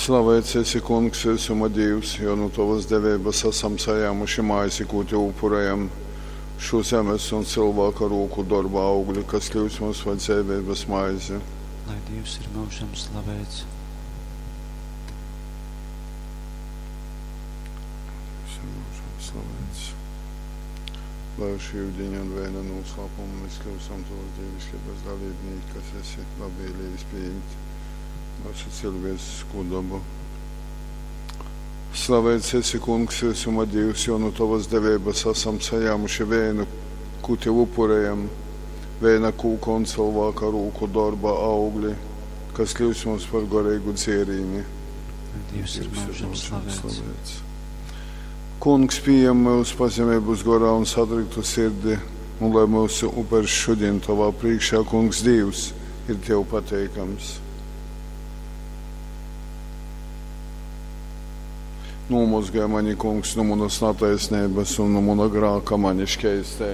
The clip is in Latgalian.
Slaveits esi, Kungs, vysuma Dīvs, jo nu tovas deveibas asam sajāmuši maizi, kū tev upurejam, šū zemes un cylvāka rūku dorba augli, kas kļyust mums par dzeiveibas maizi. Lai Dīvs ir myužam slaveits! Dīvs ir myužam slaveits. Lai ar šī yudiņa un veina nūslāpumu mēs kļūstam tovas dīviškeibas dalībnīki, kas esi labvēlījis pījimt myusu cilvēciskū dabu. Slaveits esi, Kungs, vysuma Dīvs, jo nu tovas deveibas asam sajāmuši vēnu, kū tev upurejam, vēna kūka un cylvāka rūku dorba augli, kas kļūst mums par goreigu dzierīni. Lai Dīvs ir myužam slaveits! Kungs, pījem myus pazemeibas gorā un satriktu sirdi, un lai myusu upers šodien tovā priekšā, Kungs Dīvs, ir tev pateikams. Nomozgāj mani, Kungs, no manas nataisnības un no mana grāka mani šķeistē.